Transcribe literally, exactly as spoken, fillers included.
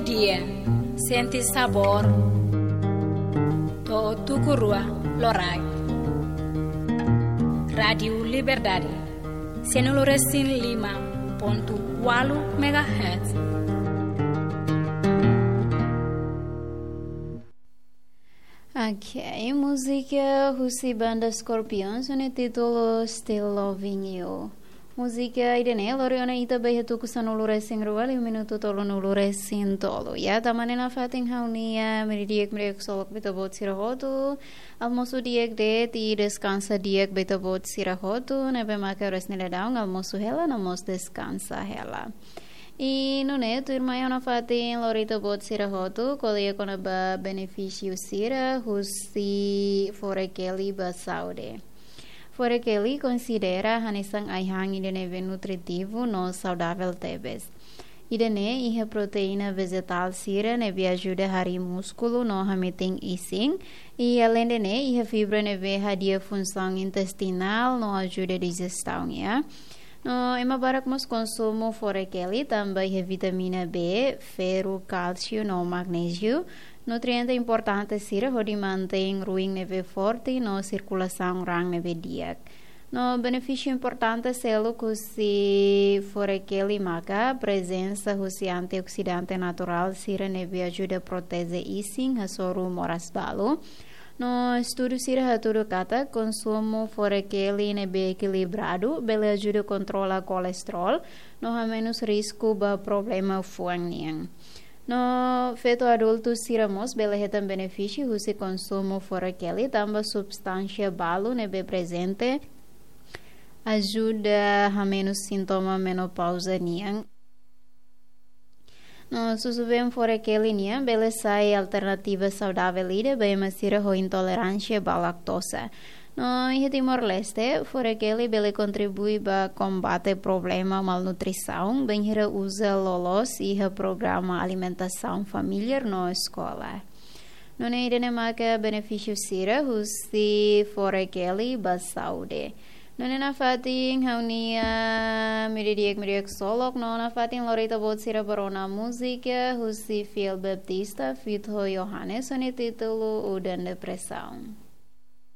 Dia, sente sabór. To'o tuku rua loraik. Rádiu Liberdade, sanulu resin lima pontu ualu megahertz. Ok, múzika husi banda Scorpions, ho nia títulu Still Loving You. Múzika ida-ne'e lori ona ita ba iha tuku sanulu resin rua, liu minutu tolunulu resin tolu. Ya, tama ona iha fatin ha'u-nia, meiudia di'ak, meiudia di'ak ksolok ba ita-boot sira hotu. Almosu di'ak de'it, deskansa di'ak ba ita-boot sira hotu. Ne'ebé maka oras ne'e daudaun almosu hela, no mós deskansa hela. I nune'e tuirmai ha'u nafatin lori ita-boot sira hotu, ko'alia kona-ba benefísiu sira husi fore-keli ba saúde. Fore-keli konsidera hanesan ai-han ida ne'ebé nutritivu no saudavel tebes. Ida-ne'e iha proteína vejetál sira ne'ebé ajuda harii múskulu no hametin isin. I aleinde ne'e iha fibra ne'ebé hadi'a funsaun intestinál no ajuda dijestaun, ya. No ema barak mós konsumu fore-keli tanba iha vitamina B, ferru, kálsiu no magnéziu, nutriente importante sira hodi mantein ruin ne'ebé forte no sirkulasaun raan ne'ebé di'ak. No benefísiu importante seluk husi fore-keli maka prezensa husi antioksidante naturál sira ne'ebé ajuda proteje isin hasoru moras balu. No estudu sira hatudu katak konsumu fore-keli ne'ebé ekilibradu bele ajuda kontrola kolesterol, no hamenus risku ba problema fuan nian. No feto adultu sira mós bele hetan benefísiu husi konsumu fore-keli tanba substánsia balu ne'ebé prezente ajuda hamenus sintoma menopauza nian. No susubeen fore-keli nian bele sai alternativa saudavel ida ba ema sira ho intoleránsia ba laktoza. No iha Timor-Leste, fore-keli bele kontribui ba kombate problema malnutrisaun, bainhira uza loloos iha programa alimentasaun familiár no eskola. Nune'e ida-ne'e maka benefísiu sira husi fore-keli ba saúde. Nune'e nafatin ha'u-nia, meiudia di'ak, meiudia di'ak ksolok, no nafatin lori ita-boot sira ba rona múzika husi Fiel Baptista feat ho Yohanes, ho nia títulu Udan Depresaun.